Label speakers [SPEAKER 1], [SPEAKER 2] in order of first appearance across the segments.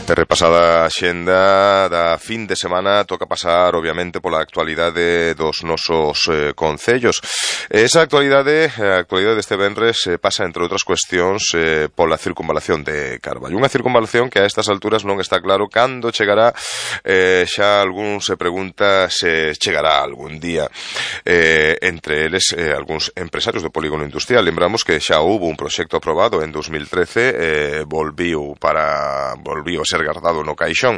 [SPEAKER 1] Repasada a xenda da fin de semana, toca pasar, obviamente, pola actualidade dos nosos concellos. Esa actualidade, a actualidade deste venres, pasa, entre outras cuestións, pola circunvalación de Carballo. Unha circunvalación que a estas alturas non está claro cando chegará. Xa algún se pregunta se chegará algún día. Entre eles, algúns empresarios do polígono industrial. Lembramos que xa houve un proxecto aprobado en 2013, volviu a ser guardado no caixón.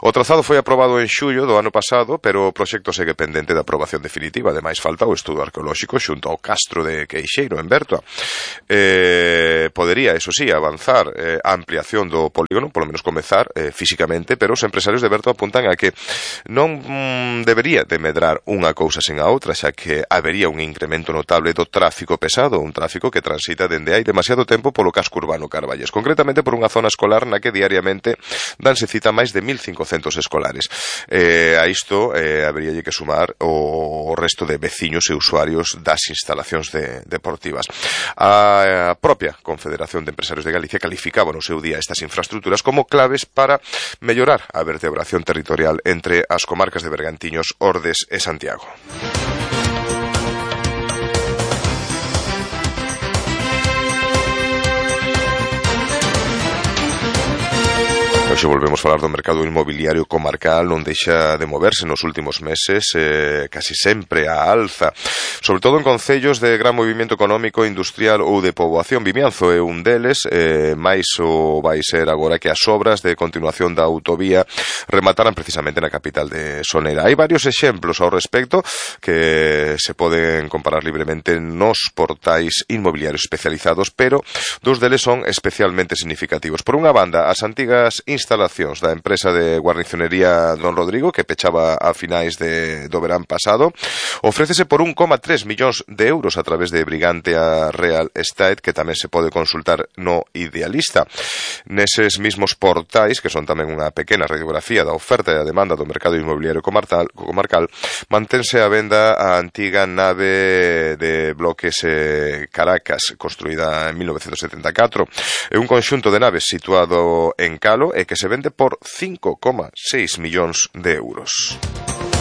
[SPEAKER 1] O trazado foi aprobado en xullo do ano pasado, pero o proxecto segue pendente de aprobación definitiva. Ademais, falta o estudo arqueolóxico xunto ao castro de Queixeiro, en Bertoa. Podería, eso sí, avanzar a ampliación do polígono, polo menos comezar físicamente, pero os empresarios de Bertoa apuntan a que non debería de medrar unha cousa sen a outra, xa que habería un incremento notable do tráfico pesado, un tráfico que transita dende hai demasiado tempo polo casco urbano carballés, concretamente por unha zona escolar na que diariamente danse cita máis de 1.500 escolares. A isto haberíalle que sumar o resto de veciños e usuarios das instalacións deportivas. A propia Confederación de Empresarios de Galicia calificaba no seu día estas infraestructuras como claves para mellorar a vertebración territorial entre as comarcas de Bergantiños, Ordes e Santiago. Hoxe volvemos a falar do mercado inmobiliario comarcal, non deixa de moverse nos últimos meses, casi sempre a alza, sobre todo en concellos de gran movimento económico, industrial ou de poboación. Vimianzo é un deles, máis o vai ser agora que as obras de continuación da autovía remataran precisamente na capital de Sonera. Hai varios exemplos ao respecto que se poden comparar libremente nos portais inmobiliarios especializados, pero dous deles son especialmente significativos. Por unha banda, as antigas instalacións da empresa de guarnicionería Don Rodrigo, que pechaba a finais do verán pasado, ofrécese por 1,3 millóns de euros a través de Brigantia Real Estate, que tamén se pode consultar no Idealista. Neses mismos portais, que son tamén unha pequena radiografía da oferta e a demanda do mercado inmobiliario comarcal, mantense a venda a antiga nave de bloques Caracas, construída en 1974. É un conxunto de naves situado en Calo e que se vende por 5,6 millóns de euros.